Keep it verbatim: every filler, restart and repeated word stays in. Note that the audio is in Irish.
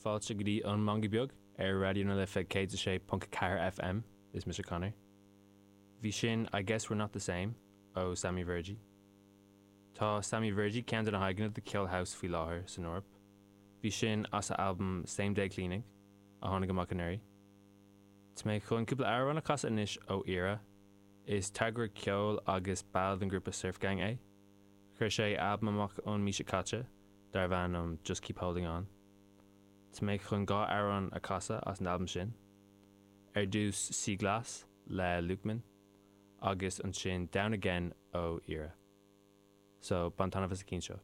Fáilte go dtí an Meangadh Beag ar Raidió na Life céad a sé ponc ceathair FM is mise Conor. Bhí sin I Guess We're Not the Same ó Sammy Virji. Tá Sammy Virji ceann de na haghaidheanna de cheol house faoi láthair san Eoraip. Bhí sin as a albam Same Day Cleaning a tháinig amach anuraidh. Tá mé chun cúpla amhrán a chasadh anois ó Ira. Is táirgeoir ceoil agus ball den grúpa Surf Gang é. Chuir sé albam amach an mhí seo caite darbh ainm Just Keep Holding On. Tá mé chun dhá amhrán a chasadh as an albam sin. Ar dtús Sea Glass le Lukeman agus ansin Down Again ó Ira. So bain taitneamh as an gceann seo.